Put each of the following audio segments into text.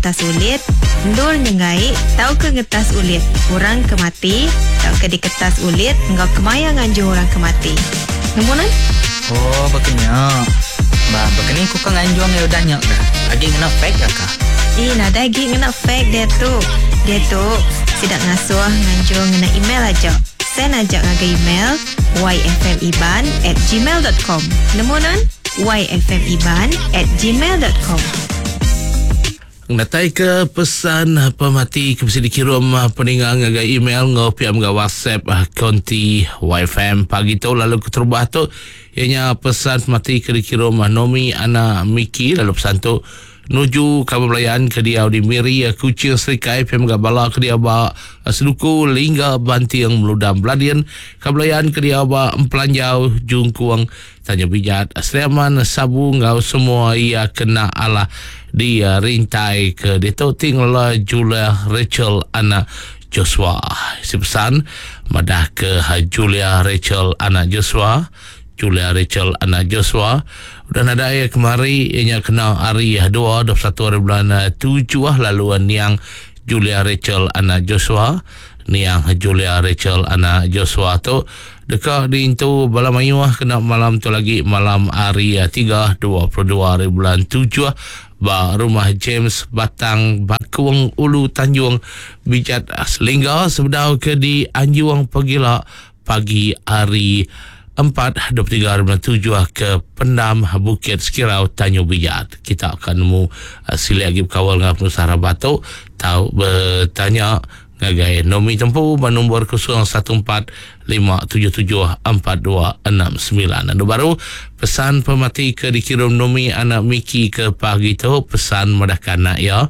ngetas ulit, endur nyenggai tauka ngetas ulit orang ke mati tauka diketas ulit enggau kemaya nganjung orang ke mati. Nemu nuan? Oh, baka nya. Ba, baka ni ku ka nganjung iya udah nya kah? Agi ngena fax ka kah? Ih, nadai agi ngena fax diatu. Diatu, sida ngasuh nganjung ngena email aja. Send aja ngagai email yfmiban at gmail dot com. Nemu nuan? yfmiban at gmail dot com. Ngenatai ke pesan pemati ke bisi dikirum peninga ngagai email enggau pia mega WhatsApp konti YFM pagi tu lalu keterubah tu iya nya pesan pemati ke dikirum Nomi anak Miki lalu pesan tu Nuju kaban belayan ke diau di Miri, Kuching, Serikai pia mega bala ke diau ba Seduku, Lingga, Banting, Meludam, Beladin, kaban belayan ke diau ba Empelanjau, Jungkung, Tanjung Bijat, Sri Aman, Sabu enggau semua iya kena alah di rintai ke ditu ti ngelala Julia Rachel anak Joshua. Isi pesan madah ke Julia Rachel anak Joshua Julia Rachel anak Joshua udah nadai iya kemari iya nya kena hari dua 21 hari bulan tujuh lalu niang Julia Rachel anak Joshua niang Julia Rachel anak Joshua tu deka diintu bala mayuh kena malam tu lagi malam hari tiga 22 hari bulan tujuh ba rumah James Batang Bakung Ulu Tanjung Bijat Selingga sebedau ke dianjung pegila Pagi hari 4, 23 hari bulan 7 ke Pendam Bukit Sekirau Tanjung Bijat. Kita akan nemu uh, silik agi bekawal dengan penusah rabat tu tau betanya ngagai Nomi Tempu ba nombor 014 577 4269. Anu baru pesan pemati ke dikirim Nomi anak Miki ke pagi tu pesan madahkan anak iya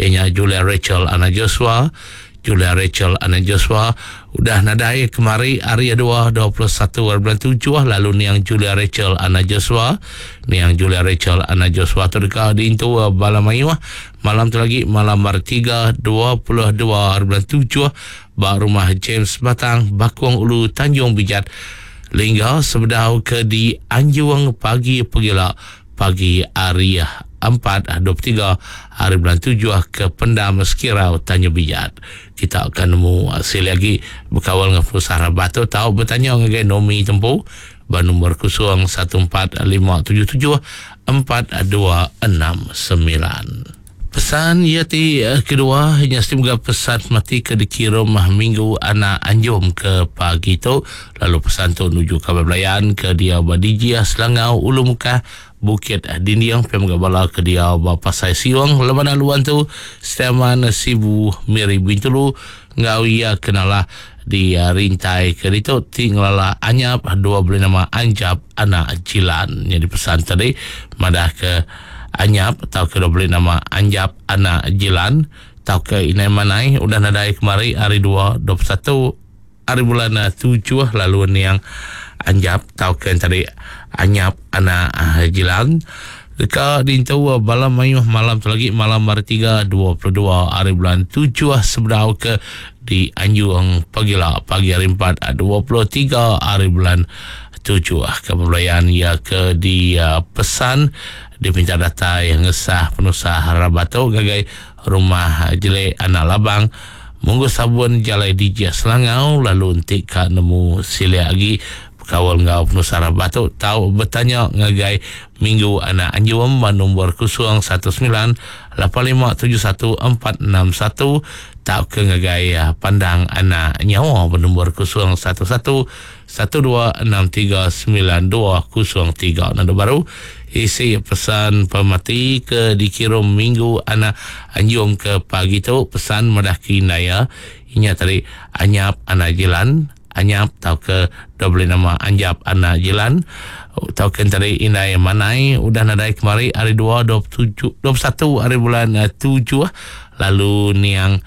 ianya Julia Rachel anak Joshua Julia Rachel anak Joshua udah nadai kemari hari dua 21 hari bulan tujuh lalu niang Julia Rachel anak Joshua niang Julia Rachel anak Joshua tu deka diintu bala mayuh malam tu lagi malam hari tiga 22 hari bulan tujuh ba rumah James Batang Bakong Ulu Tanjung Bijat Lingga sebedau ke dianjung pagi pegila Pagi hari 4, 23 hari bulan 7 ke Pendam Sekirau Tanjung Bijat. Kita akan nemu silik agi bekawal dengan penusah rabat tu tau betanya ngagai Nomi Tempu ba nombor 014 577 4269. Pesan iya ti kedua nya siti mega pesan mati ke dikirum minggu anak anjung ke pagi tu lalu pesan tu nuju kaban belayan ke diau ba Dijih Selangau Ulu Mukah Bukit Dinding pia mega bala ke diau ba Pasai Siong Leman Aluan tu Setiaman Sibu Miri Bintulu enggau iya ke nalah di rintai ke ditu ti ngelala Anyap dua beli nama Anjap anak Jilan. Nyadi pesan tadi madah ke Anyap tauka dua beli nama Anjap anak Jilan tauka Inai Manai udah nadai kemari hari dua 21 hari bulan tujuh lalu niang Anjap tauka tadi Anyap anak Jilan deka diintu bala mayuh malam tu lagi malam hari tiga 22 hari bulan tujuh sebedau ke dianjung pagila pagi hari empat 23 hari bulan tujuh ke pembelayan iya ke dipesan dipinta datai ngesah penusah rabat tu ngagai rumah Jelek anak Labang Munggu Sabun Jalai Dijih Selangau lalu enti ka nemu silik agi bekaul enggau penusah rabat tu tau betanya ngagai Minggu anak Anjum ba nombor 019 8571 461 tauka ngagai Pandang anak Nyawa ba nombor 011 12639203. Nandu baru isi pesan pemati ke dikirum minggu anak anjung ke pagi tu pesan madah ke indai iya inya tadi Anyap anak Jilan Anyap tauka dau beli nama Anjap anak Jilan tauka tadi indai Manai udah nadai kemari hari dua 27 21 hari bulan tujuh lalu niang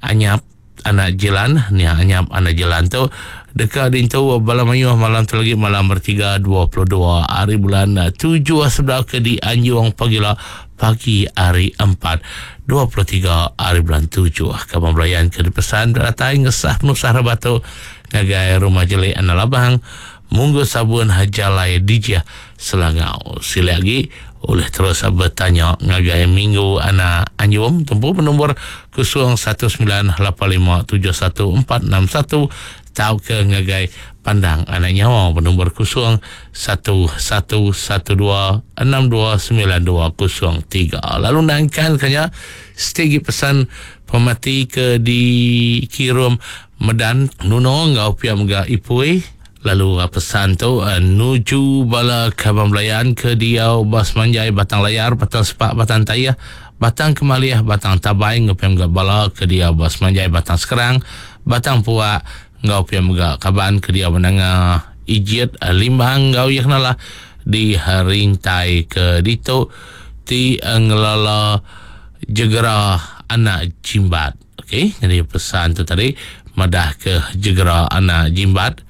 Anyap Anak Jilan, nya anyap anak Jilan tu deka diintu bala mayuh malam tu lagi malam bertiga 22 hari bulan tujuh sebedau ke dianjung pagila pagi hari empat 23 hari bulan tujuh. Kaban belayan ke dipesan datai ngesah penusah rabat tu ngagai rumah jelik anak labang Munggu Sabun Jalai Dijih Selangau. Silik agi. Ulih terus betanya ngagai Minggu Anak Anjum tempu benombor 0198571461 tauka ngagai Pandang Anak Nyawa benombor 011112629203. Lalu nangkan ke nya setigi pesan pemati ke dikirum Medan Nuno enggau pia mega Ipui. Lalu pesan tu nuju bala kaban belayan ke diau ba semanjai Batang Layar, Batang Sepak, Batang Tayah, Batang Kemalih, Batang Tabai enggau pia mega bala ke diau ba semanjai Batang Skrang, Batang Puak enggau pia mega kaban ke diau ba Nanga Ijit, Limbang enggau iya kenalah di rintai ke ditu ti ngelala Jegera Anak Jimbat. Okey, nyadi pesan tu tadi madah ke Jegera Anak Jimbat.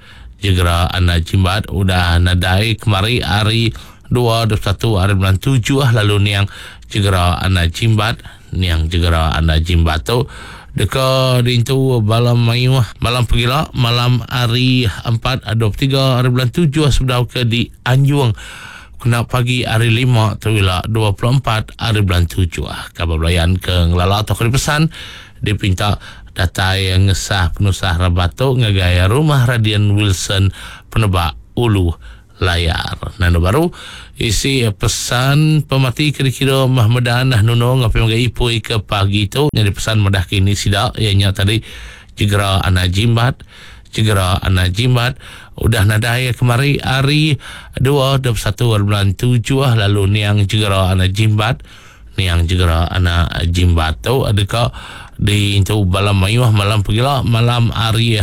Jegera Anak Jimbat udah nadai kemari hari 2 21 hari bulan 7 lalu niang Jegera Anak Jimbat, niang Jegera Anak Jimbat tu deka diintu bala mayuh malam pegila malam hari 4 23 hari bulan 7 sebedau ke dianjung kena pagi hari 5 tu ila 24 hari bulan 7. Kaban belayan ke ngelala atau ke dipesan dipinta datai ngesah penusah rabat tu ngagai rumah Radin Wilson Penebak Ulu Layar. Nanda baru isi pesan pemati ke dikira Mahmedan Nuno ngapai ngagai Ipui ke pagi tu nyadi pesan madah ke ini sida iya nya tadi Jegera Anak Jimbat. Jegera Anak Jimbat udah nadai kemari hari 2 21 hari bulan 7 lalu niang Jegera Anak Jimbat. Niang Jegera Anak Jimbat tu deka diintu bala mayuh malam pegila malam hari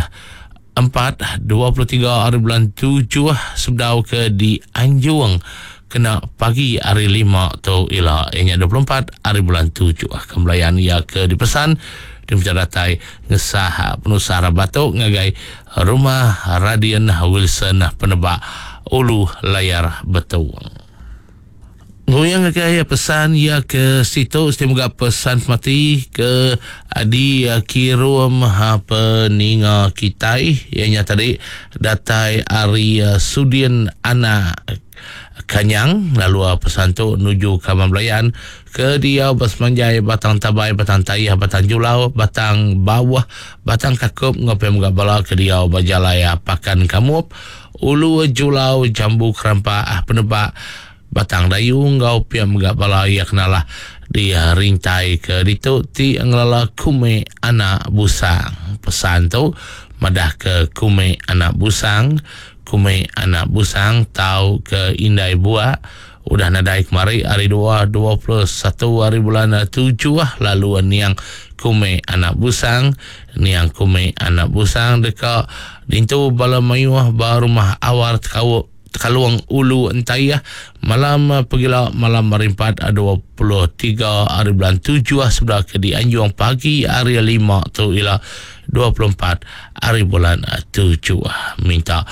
4 23 hari bulan 7 sebedau ke dianjung kena pagi hari 5 tu ila ianya 24 hari bulan 7. Kembelayan ia ke dipesan diminta datai ngesah penusah rabat tu ngagai rumah Radin Wilson Penebak Ulu Layar Betung. Nguyang ngagai pesan ia ke situ seti mega pesan mati ke dikirum peninga kitai ianya tadi datai ari Sudin Anak Kanyang lalu pesan tu nuju Kaban Belayan ke diau besemanjai Batang Tabai, Batang Tayah, Batang Julau, Batang Bawah, Batang Kakup enggau pia mega bala ke diau ba jalai Pakan Kamup, Ulu Julau, Jambu Kerampak, Penebak, Batang Dayu enggau pia mega bala iya kenalah di rintai ke ditu ti ngelala Kume Anak Busang. Pesan tu madah ke Kume Anak Busang, Kume Anak Busang tau ke Indai Buak udah nadai kemari hari 2 21 hari bulan 7 lalu niang Kume Anak Busang, niang Kume Anak Busang deka dintu bala mayuh ba rumah Awar Tekauk Tekalung Ulu Entayah malam pegila malam hari 4 23 hari bulan 7 sebelah ke dianjung pagi hari 5 tu ila 24 hari bulan 7. Minta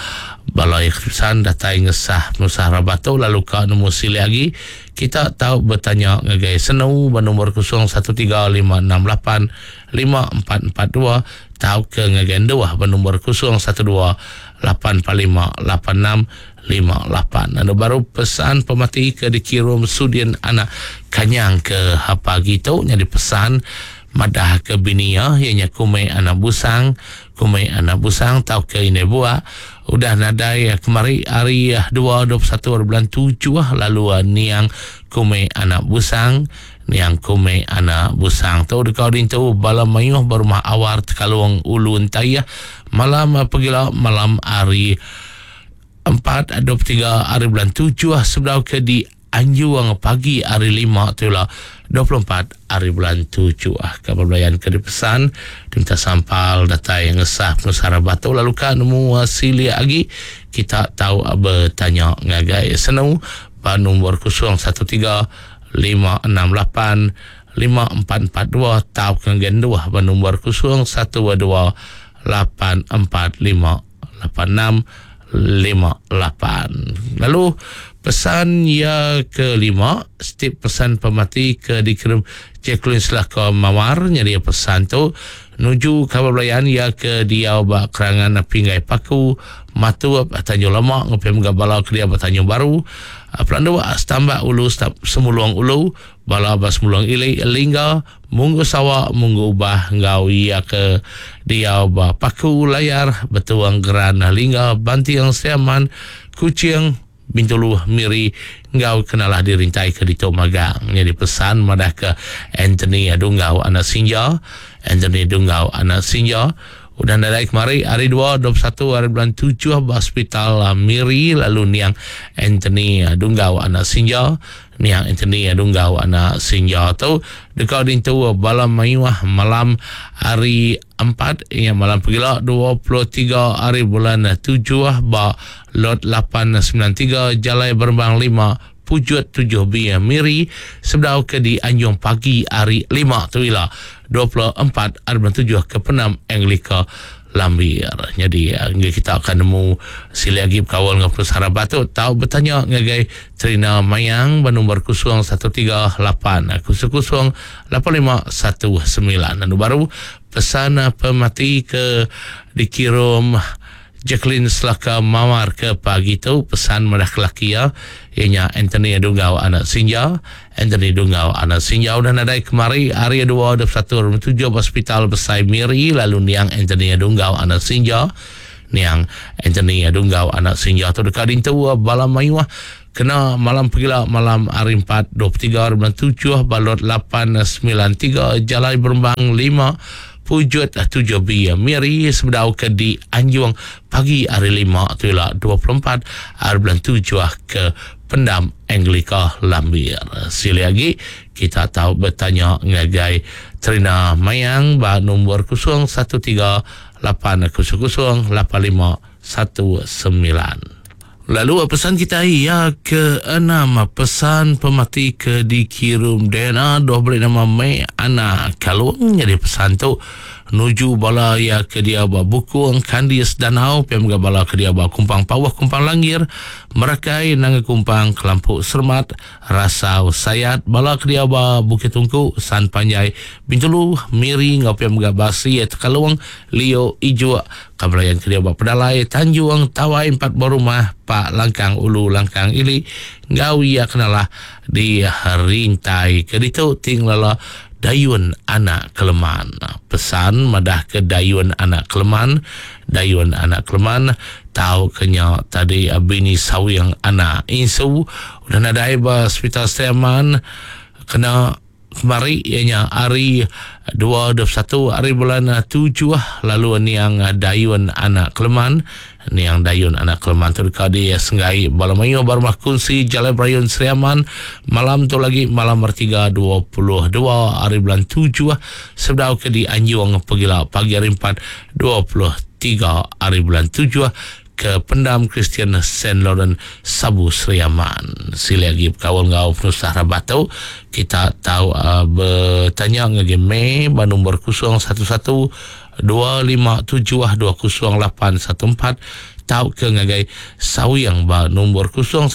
bala yang kepesan datai ngesah penusah rabat tu lalu ka nemu silih lagi kita tahu bertanya ngagai Senu bernombor 0135685442 tau ke ngagai Enduh bernombor 0128458658. Lalu baru pesan pemati ke dikirum Sudin Anak Kanyang ke pagi tu nyadi pesan madah ke bini iya ianya Kume Anak Busang. Kume Anak Busang tau ke Indai Buak udah nadai kemari hari 2 21 hari bulan 7 lalu niang Kume Anak Busang. Niang Kume Anak Busang tu deka dintu bala mayuh ba rumah Awar Tekalung Ulu Entayah malam pegila malam hari 4 23 hari bulan 7 sebedau ke di anjung pagi hari 5 tu lah 24 hari bulan 7. Kabar belayan ke dipesan diminta sampal datai ngesah penusah batu lalu ka nemu silik lagi kita tahu bertanya ngagai Senu ba nombor 013 568 5442 tau ke genduh ba nombor 012 845 86 58. Lalu Pesan iya kelima, setiap pesan pemati ke dikirim Jacqueline Selaka Mawar nyadi pesan tu nuju kaban belayan iya ke diau ba Kerangan Pinggai Paku, Matup, Tanjung Lama enggau pia mega bala ke diau ba Tanjung Baru, Pelanduk, Stambak Ulu, Semulong Ulu, bala ba Semulong Ili, Lingga, Munggu Sawa, Munggu Ubah enggau iya ke diau ba Paku, Layar, Betuang, Geran, Lingga, Banting, Siaman, Kuching, Bintulu, Miri enggau ke nalah dirintai ke ditu magang. Nyadi pesan madahka Anthony Dunggau anak Sinja, Anthony Dunggau anak Sinja, udah nadai kemari hari dua 21 hari bulan tujuh ba Hospital Miri lalu niang Anthony Dunggau anak Sinja, niang Anthony Dunggau anak Sinja tu deka dintu bala mayuh malam hari Empat iya malam pegila 23 hari bulan tujuh ba Lot 893 Jalai Berembang lima Pujut tujuh B Miri sebedau ke di Anjung pagi hari lima tu ila 24 hari bulan tujuh ke Penam Anglika Lambir. Nyadi enggai kita akan nemu silik agi bekaul enggau penusah rabat tu tau betanya ngagai Trina Mayang ba nombor 013 8 00 8519. Anu baru pesan pemati ke dikirum Jacqueline Selaka Mawar ke pagi tu pesan madah ke laki iya iya nya Anthony Dunggau anak Sinja. Anthony Dunggau anak Sinja udah nadai kemari hari dua 21 hari tujuh ba Hospital Besai Miri lalu niang Anthony Dunggau anak Sinja niang Anthony Dunggau anak Sinja tu deka dintu bala mayuh kena malam pegila malam hari empat 23 hari bulan tujuh ba lot 893 Jalai Berembang lima Pujut 7B Miri sebedau ke di Anjung pagi hari lima tu ila 24 hari bulan tujuh ke Pendam Anglika Lambir. Silih agi kita tau betanya ngagai Trina Mayang ba nombor 013 800 8519. Lalu pesan kita iya ke enam pesan pemati ke dikirum Dana dua beri nama Mei Ana Kalung jadi pesan tu nuju bala iya ke dia ba Bukung Kandis Danau pia mega bala ke dia ba Kumpang Pawah Kumpang Langir Merakai Nanga Kumpang Kelampuk Sermat Rasau Sayat bala ke dia ba Bukit Tungku San Panjai Bintulu Miri enggau pia mega Basi Tekalung Lio Ijuk Ka belayan ke dia ba Pedalai, Tanjung, Tawai empat buah rumah, Pak Langkang Ulu Langkang Ili enggau iya kenalah di Rintai ke ditu ti ngelala Dayun Anak Keleman. Pesan madah ke Dayun Anak Keleman, Dayun Anak Keleman tau ke nya tadi bini Sawing Anak Insu udah nadai ba Sepital Sri Aman kena Kemari iya nya hari dua 21 hari bulan tujuh lalu niang Dayun anak Keleman. Niang Dayun anak Keleman tu deka disenggai bala mayuh ba rumah kunsi Jalai Berayun Sri Aman malam tu lagi malam hari tiga 22 hari bulan tujuh sebedau ke dianjung pegila pagi hari empat 23 hari bulan tujuh ke Pendam Kristian Saint Lawrence Sabu Sri Aman. Silih agi bekaul enggau penusah rabat tu, kita tau betanya ngagai May ba nombor 011 257 20814 tauka ngagai Sawing ba nombor 019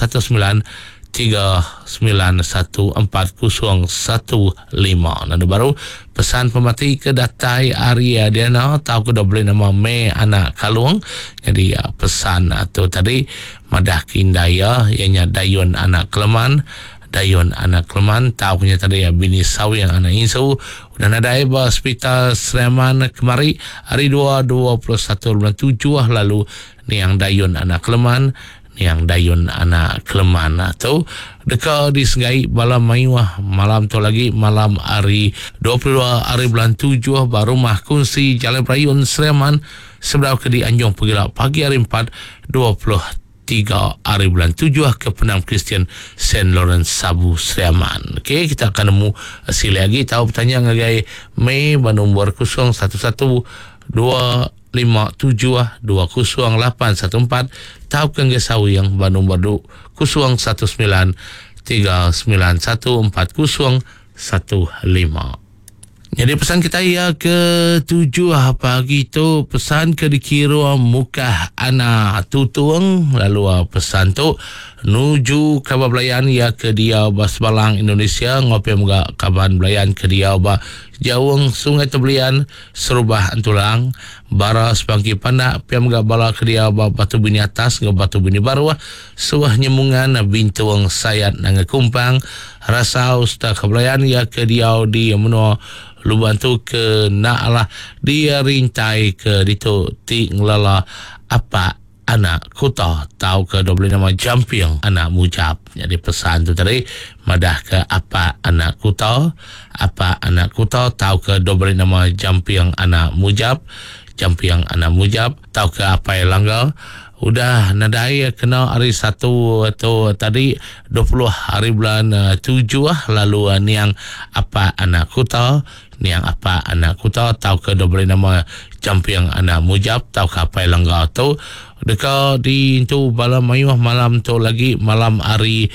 3914015. Lalu baru pesan pemati ke datai ari Diana tau ke beli nama May anak Kalung. Jadi pesan tu tadi madah ke indai iya iya nya Dayun anak Keleman. Dayun anak Keleman tau ke nya tadi bini Sawing anak Insu udah nadai ba Hospital Sri Aman kemari hari dua 21 bulan tujuh lalu niang Dayun anak Keleman Niang Dayun anak Keleman tu deka disegai bala mayuh malam tu lagi malam hari 22 hari bulan 7 ba rumah kunsi Jalai Berayun Sri Aman sebedau ke dianjung pegila pagi hari 4 23 hari bulan 7 ke Pendam Kristian Saint Lawrence Sabu Sri Aman. Okey, kita akan nemu silih agi tau betanya ngagai May ba nombor 011 2 5720814 tauka enggai sawing ba nombor du 019 3914015. Nyadi pesan kitai iya ke tujuh pagi tu pesan ke dikirum Mukah Ana Tutung lalu pesan tu nuju kaban belayan iya ke diau ba Sebalang Indonesia enggau pia mega kaban belayan ke diau ba Jaung Sungai Tebelian Serubah Entulang Bara Sepangki Pandak pia mega bala ke diau ba Batu Bini Atas enggau Batu Bini Baruh Suah Nyemungan Bintung Sayat Nanga Kumpang Rasau sereta ke belayan iya ke diau di menua Luban tu ke enda alah dirintai ke ditu ti ngelala apak anak kuta tauka dau beli nama Jamping anak Mujap. Nyadi pesan tu tadi madahka apak anak kuta, apak anak kuta tauka dau beli nama Jamping anak Mujap, Jamping anak Mujap tauka Apai Langga udah nadai kena hari Satu tu tadi 20 hari bulan tujuh lalu niang Apak anak Kuta, niang Apak anak Kuta tauka dok beri nama Jamping anak Mujap tauka Apai Langga tu deka diintu bala mayuh malam tu lagi malam hari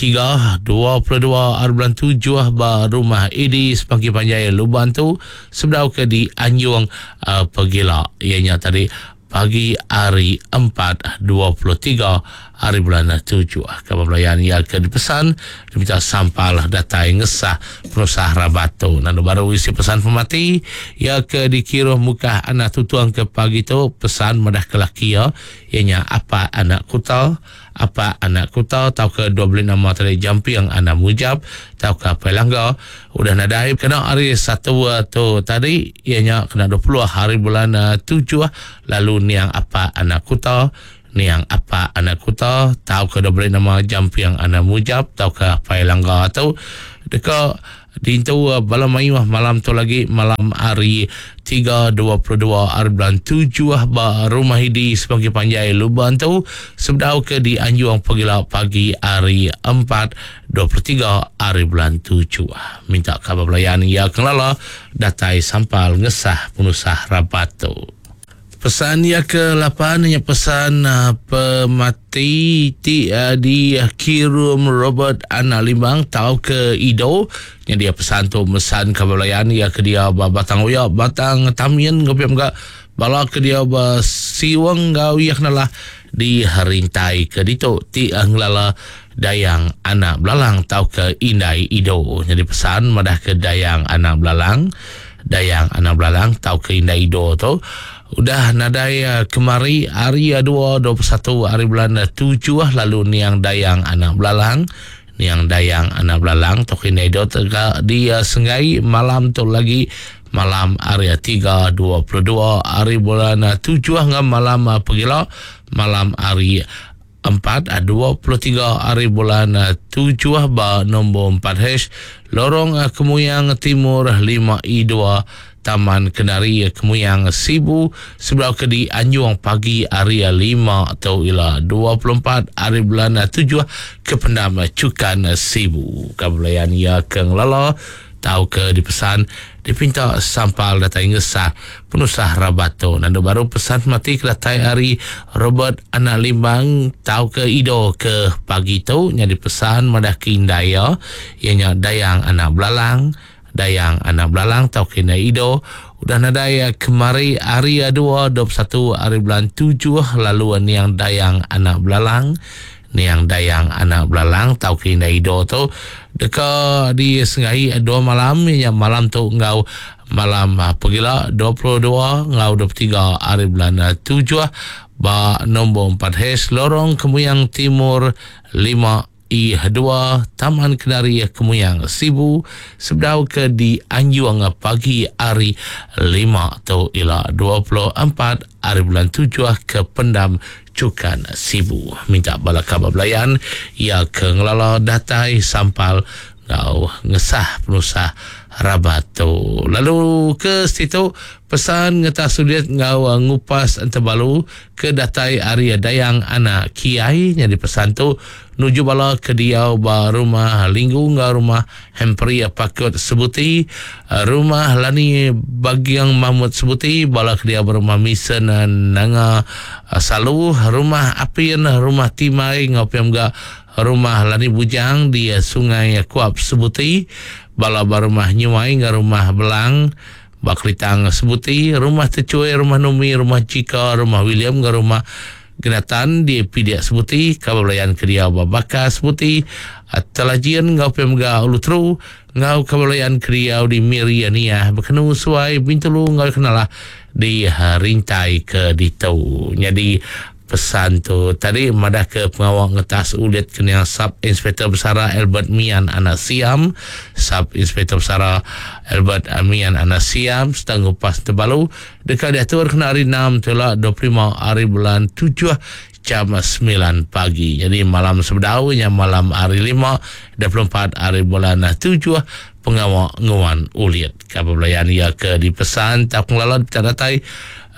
Tiga, 22 hari bulan tujuh ba Rumah Idi Sepangki Panjai Luban tu sebedau ke dianjung uh, pegila iya nya tadi pagi hari 4, 23 hari bulan tujuh. Kaban belayan iya ke dipesan diminta sampal datai ngesah penusah rabat tu. Lalu baru isi pesan pemati iya ke dikiruh mukah anak tutung ke pagi tu pesan madah ke laki iya iya nya Apak anak Kuta Apak anak Kuta tauka dua beli nama tadi Jamping anak Mujap tauka Apai Langga udah nadai kena hari Satu tu tadi iya nya kena 20 hari bulan tujuh lalu niang Apak anak Kuta niang Apak anak Kuta tauka dua beli nama Jamping anak Mujap tauka Apai Langga tu deka Dintu bala mayuh malam tu lagi malam hari tiga 22 hari bulan tujuh ba Rumah Idi Semanggi Panjai Luban tu sebedau ke dianjung pegila pagi hari empat 23 hari bulan tujuh. Minta kaban belayan iya ke ngelala datai sampal ngesah penusah rabat tu. Pesan iya ke lapan nya pesan pemati ti dikirum Robert Anak Limbang tauka Ido. Nya dia pesan tu mesan ka belayan iya ke diau ba Batang Oya, Batang Tamin enggau pia mega bala ke diau ba Siweng enggau iya ke nalah di Rintai ke ditu ti ngelala Dayang Anak Belalang tauka Indai Ido. Nyadi pesan madahka Dayang Anak Belalang Dayang Anak Belalang tauka Indai Ido tu udah nadai kemari hari dua 21 hari bulan tujuh lalu niang Dayang Anak Belalang niang Dayang Anak Belalang tauka Indai Ido tega di Senggai malam tu lagi malam hari tiga 22 hari bulan tujuh enggau malam pegila malam hari empat, 23 hari bulan tujuh ba nombor 4H, Lorong Kemuyang Timur 5E2, Taman Kenari Kemuyang Sibu, sebedau ke di Anjung pagi hari lima tu ila 24 hari bulan tujuh ke Pendam Chukan Sibu. Kabelayan iya ke ngelala tauka dipesan dipinta sampal datai ngesah penusah rabat tu. Nandu baru pesan mati ke datai ari Robert Anak Limbang tauka Ido ke pagi tu nyadi pesan madah ke indai iya, iya nya Dayang Anak Belalang, Dayang Anak Belalang tauka indai Ido udah nadai kemari hari dua 21 hari bulan tujuh lalu niang Dayang Anak Belalang Niang Dayang Anak Belalang tauka Indai Ido tu deka disenggai dua malam iya nya malam tu enggau malam pegila 22 enggau 23 hari bulan tujuh ba nombor empat H Lorong Kemuyang Timur lima E dua Taman Kenari Kemuyang Sibu sebedau ke dianjung pagi hari lima tu ila 24 hari bulan tujuh ke Pendam Chukan Sibu. Minta bala kaban belayan iya ke ngelala datai sampal enggau ngesah penusah rabat tu. Lalu ke situ pesan ngetas ulit enggau ngupas entebalu ke datai ari Dayang Anak Kiai nyadi pesan tu nuju bala ke diau ba Rumah Linggu enggau Rumah Hempri Pakut Sebuti, Rumah Lani Bagiang Mahmud Sebuti, bala ke diau ba Rumah Misen Nanga Salu, Rumah Apin, Rumah Timai enggau pia mega Rumah Lani Bujang di Sungai Kuap Sebuti. Bala ba Rumah Nyuai enggau Rumah Belang ba Kelitang Sebuti, Rumah Techui, Rumah Numi, Rumah Chika, Rumah William enggau Rumah Genatan di Pidik Sebuti, Kaban Belayan ke diau ba Bakar Sebuti, Telajin enggau pia mega Ulu Teru enggau Kaban Belayan ke diau di Miri, Niah, Bekenu, Suai, Bintulu enggau Kenalah di Rintai ke ditu. Nyadi Pesan tu tadi madahka pengawa ngetas ulit ke niang Sub Inspektor Besara Albert Mian anak Siam, Sub Inspektor Besara Albert Mian anak Siam sereta ngupas Tebalu deka diatur kena hari Enam tu ila 25 hari bulan tujuh jam semilan pagi. Nyadi malam sebedau nya malam hari Lima 24 hari bulan tujuh pengawa nguan ulit. Ka belayan iya ke dipesan tauka ngelala dipeda datai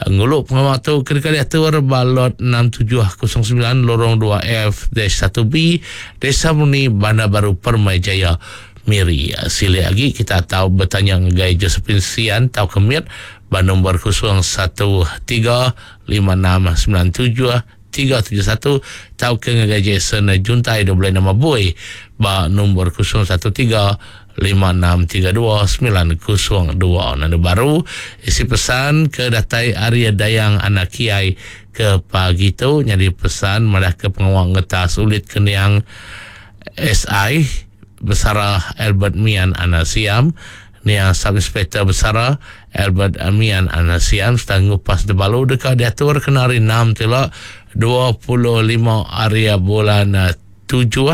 Ngulu pengawa tu ke deka diatur ba Lot 6709 Lorong 2F dash satu B, Desa Murni, Bandar Baru Permai Jaya, Miri. Silik agi kita tau betanya ngagai Josephine Sian tauka Mit ba nombor 013 5697 371 tauka ngagai Jason Juntai 26 Bui ba nombor 013 5632 902. Nandu baru isi pesan ke datai ari Dayang Anak Kiai ke pagi tu nyadi pesan madah ke pengawa ngetas ulit ke niang SI Besara Albert Mian Anak Siam Niang Sub Inspektor Besara Albert Mian Anak Siam sereta ngupas Debalu deka diatur kena hari Enam ti ila 25 hari bulan tujuh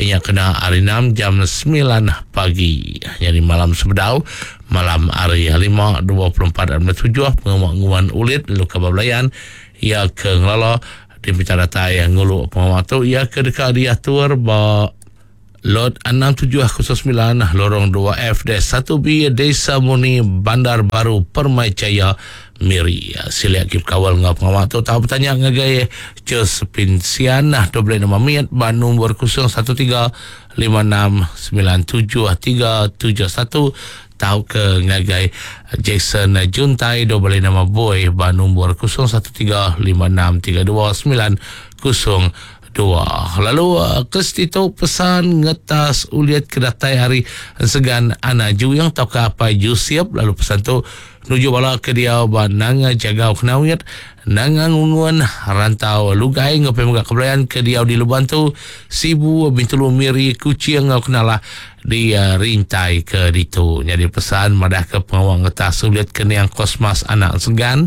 iya nya kena hari Enam jam semilan pagi. Nyadi malam sebedau malam hari Lima 24 hari bulan tujuh pengawa nguan ulit lalu kaban belayan iya ke ngelala dipinta datai ngulu pengawa tu iya ke deka diatur ba Lot 6709, Lorong 2F dash satu B, Desa Murni, Bandar Baru Permai Jaya, Miri. Silik agi bekaul enggau pengawa tu tau betanya ngagai Josephine Sian, 26 mit ba nombor 013 5697 371 tauka ngagai Jackson Juntai 26 Boy ba nombor 013 5632 90 Dua. Lalu Kirsty tu pesan ngetas ulit ke datai ari Ensegan Anak Juing tauka Apai Jusip lalu pesan tu nuju bala ke diau ba Nanga Jagau Kenawit, Nanga Ngungun, Rantau Lugai enggau pia mega Kebelayan ke diau di Luban tu, Sibu, Bintulu, Miri, Kuching enggau Kenalah di Rintai ke ditu. Nyadi pesan madahka pengawa ngetas ulit ke niang Kosmas Anak Ensegan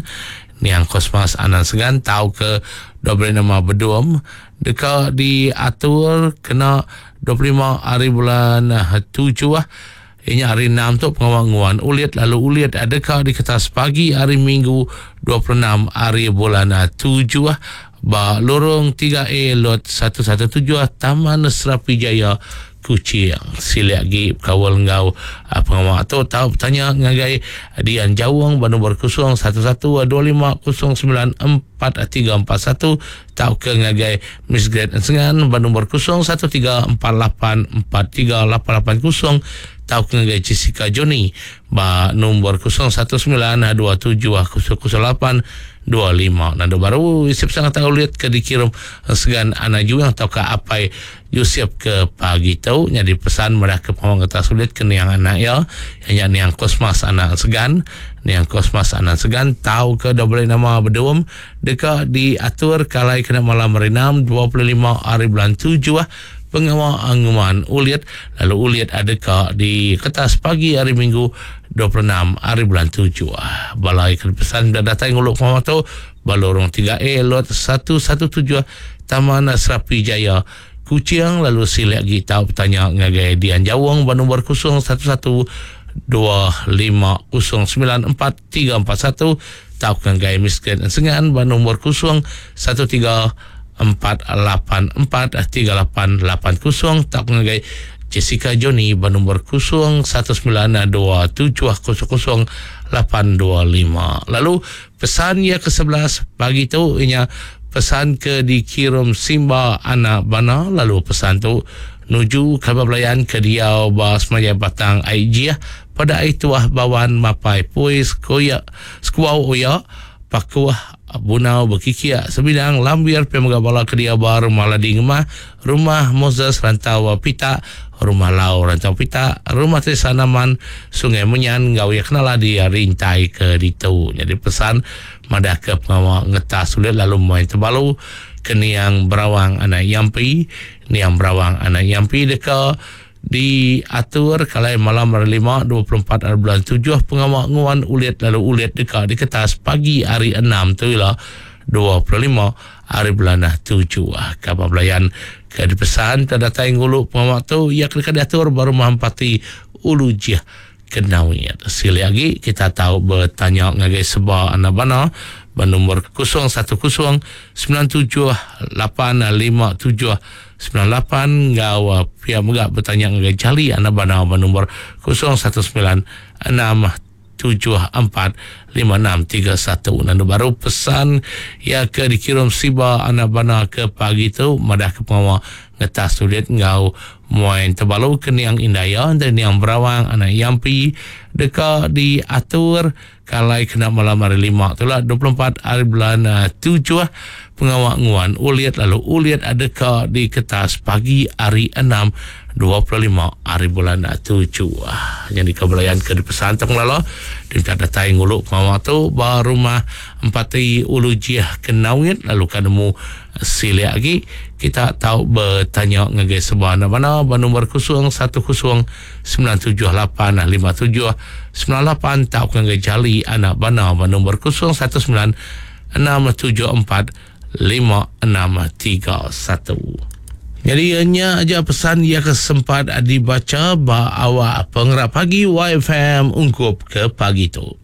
Niang Kosmas Anang Segan tauka diberi nama Bedum deka diatur kena 25 hari bulan tujuh iya nya hari Enam tu pengawa nguan ulit lalu ulit deka diketas pagi hari Minggu 26 hari bulan tujuh ba Lorong 3A Lot 117 Taman Serapi Jaya Kuching. Silik agi bekaul enggau pengawa tu tau betanya ngagai Dian Jawong ba nombor 011 25 09 4341 tauka ngagai Miss Great Ensengan ba nombor 013 48 43 880 tauka ngagai Jessica Johnny ba nombor 019 27 008 25. Nandu baru isi pesan tau ulit ke dikirum Ensegan Anak Juang tauka Apai Yusuf ke pagi tu nyadi pesan madah ke pengawa ngetas ulit ke niang anak iya, iya nya niang Kosmas anak Segan. Niang Kosmas anak Segan tau ke diberi nama Bedum deka diatur ke alai kena malam hari Enam 25 hari bulan tujuh pengawa nguman ulit lalu ulit deka diketas pagi hari Minggu 26 hari bulan tujuh. Bala ke dipesan bela datai ngulu pengawa tu ba Lorong 3A Lot 117 Taman Serapi Jaya, Kuching lalu silik agi tau betanya ngagai Dian Jawong ba nombor 011 2509 4341 tauka ngagai Miskin Ensengan ba nombor 013 484 3880 tauka ngagai Jessica Johnny ba nombor 019 2700 825. Lalu Pesan iya ke 11 pagi tu inya pesan ke dikirum Simba anak Bana lalu pesan tu nuju kaban belayan ke diau ba Semanjai Batang Ai Jih pada Ai Tuah Bawan Mapai Pui Sekuya Sekuau Oya Pakuh. Bunau Bekikiak Sebidang Lambir pia mega bala ke diau ba Rumah Ladi Ngemah, Rumah Moses Rantau Pitak, Rumah Lau Rantau Pitak, Rumah Teresa Naman, Sungai Menyan enggau iya kenala di Rintai ke ditu. Nyadi pesan madahka pengawa ngetas ulit lalu main tebalu ke niang Berawang anak Yampi. Niang Berawang anak Yampi deka Diatur kalai malam hari Lima, 24 hari bulan tujuh pengawa nguan ulit lalu ulit deka diketas pagi hari Enam tu ila, 25 hari bulan tujuh. Kaban belayan ke dipesan ke datai ngulu pengawa tu iya ke deka diatur ba Rumah Empati Ulu Jih Kenawit. Silik agi kita tau betanya ngagai seba anak bana ba nombor 010 97 8 5 7 98 enggau pia mega betanya ngagai Jali anak bana ba nombor 019 6 7 4 5 6 3 1. Nandu baru pesan iya ke dikirum siba anak bana ke pagi tu madah ke pengawa ngetas ulit enggau muai tebalu ke niang indai iya enti niang Berawang anak Yampi deka diatur kalai kena malam hari Lima tu lah 24 hari bulan tujuh pengawa nguan ulit lalu ulit deka diketas pagi hari Enam 25 hari bulan tujuh. Nyadi ke belayan ke dipesan tu ngelala diminta datai ngulu pengawa tu ba rumah Empati Ulu Jih Kenawit lalu ka nemu Silik agi, kita tau betanya ngagai seba enda bana ba nombor 010 978 57 98 tauka ngagai Jali anak bana ba nombor 019 674 5631. Nyadi nya aja pesan iya ke sempat dibacha ba awak pengerap pagi YFM ungkup ke pagi tu.